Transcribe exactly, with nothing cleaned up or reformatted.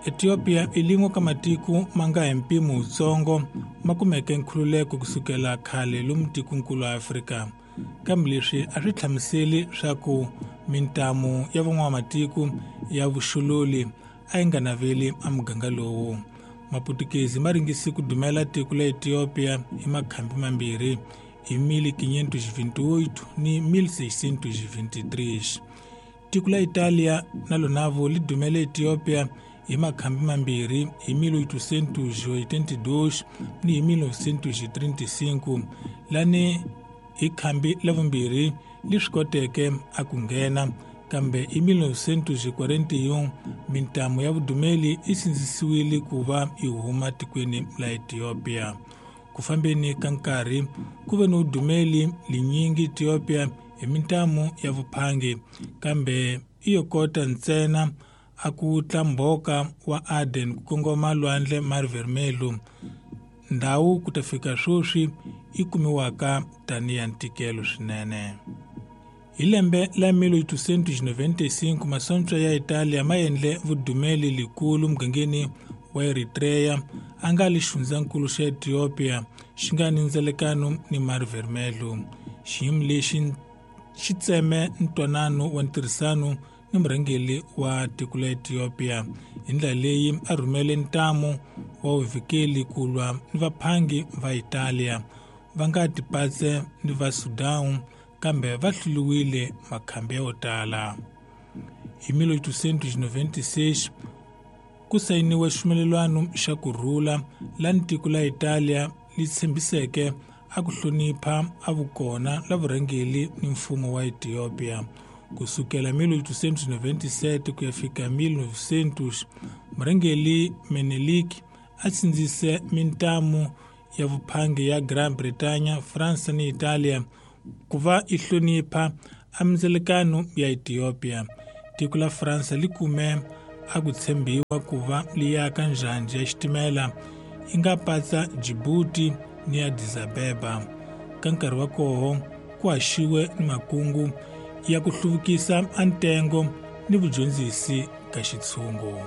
Ethiopia i lin'we ka matiko ma nga hi mpimo wutsongo ma kumeke nkhululeko kusukela khale lomu tikonkulu wa Afrika. Kambe leswi a swi hlamuseli swa ku mintamu ya van'wamatiko ya vuxololi a yi nga naveli a muganga lowu. Maputukezi ma ringise ku dumela tiko la Ethiopia hi makhambi mambirhi hi mil quinhentos e vinte e oito ni mil seiscentos e vinte e três. Tiko la Italia na lonavo li dumele Ethiopia hi makhambi mambirhi hi mil oitocentos e oitenta e dois ni hi mil novecentos e trinta e cinco, lani hi khambi la vumbirhi li swi koteke a ku nghena, kambe hi mil novecentos e quarenta e um mintamu ya vudumeli yi sindzisiwile ku va yi huma tikweni la Ethiopia. Ku fambeni ka nkarhi ku ve ni vudumeli linyingi Ethiopia hi mintamu ya vuphangi, kambe i yo kota ntsena a ku wutla mbhoka wa Aden ku kongoma lwandle Mar Vermelho, ndhawu ku ta fika sweswi yi kumiwaka tanihi ya ntikelo swinene. Hi lembe la mil oitocentos e noventa e cinco masocha ya Italia ma endle vudumeli likulu mugangeni wa Eritrea a nga li xifundzankulu xa Ethiopia xi nga ni ndzelekano ni Mar Vermelho. Xiyimo lexi xi tseme ntwanano wa ntirhisano ni murhangeri wa tiko la Ethiopia hi ndlela leyi a rhumele ntamu wa vuvikeli ku lwa ni vaphangi va Italia va nga tipatse ni va Sudan, kambe va hluriwile makhambi yo tala. Hi mil oitocentos e noventa e seis ku sayiniwe xivumelwano xa ku rhula lani tiko la Italia li tshembiseke a ku hlonipha a vukona la vurhangeri ni mfumo wa Ethiopia. Kusukela mil oitocentos e noventa e sete ku ya fika mil novecentos, murhangeri Menelik a sindzise mintamu ya vuphangi ya Gran Bretagne, Fransa ni Italia ku va yi hlonipha a mindzelekano ya Ethiopia. Tiko la Fransa li kume a ku tshembiwa ku va li aka njhanji ya xitimela yi nga patsa Djibouti ni Addis Abeba. Ka nkarhi wa koho ku haxiwe ni makungu ya ku hluvukisa a ntengo ni vudyondzisi ka xitshungu.